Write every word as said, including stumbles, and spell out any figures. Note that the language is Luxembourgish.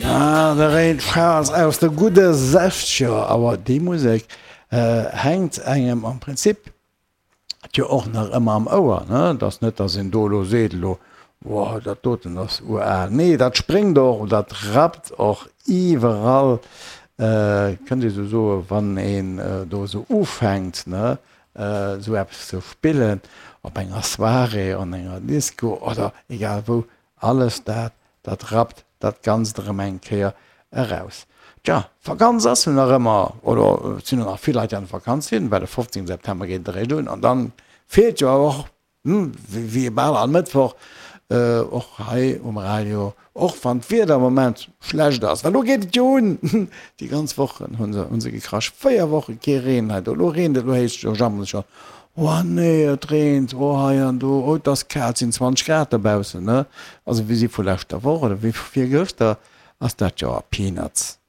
Ah, de Ray Charles aus de gudde Sechzeger. Awer déi Musek hänkt engem am Prinzip jo och nach ëmmer am Ouer, ne? Et ass net, dass een do elo seet, elo, Wow, dat doten ass ural. Nee, dat spréngt och, dat rappt och iwwerall, kënnt ee sou soen, wann een do esou ufänkt, ne, esou eppes ze spillen op enger Soirée, an enger Disco oder egal wou, alles dat, dat rappt dat Ganzt erëm eng Kéier eraus. Tja, d'Vakanz ass jo nach ëmmer, oder et sinn jo nach vill Leit, déi an der Vakanz sinn, well de fofzéngte September geet et eréischt un an dann feelt jo awer och, wéi bal all Mëttwoch, och hei um Radio, och wann d'Wieder am Moment schlecht ass, well elo geet et jo un, déi ganz Wochen hu se, hu se gekrasch, véier Woche kee Reen hei do, elo reent et, elo heescht et jo jammere se schonn, oh nee, et reent, oh hei an do, oh et ass kal, et sinn zwanzeg Grad dobaussen, ne, also wéi si vu leschter Woch oder wéi vu virgëschter ass dat jo a Peanuts.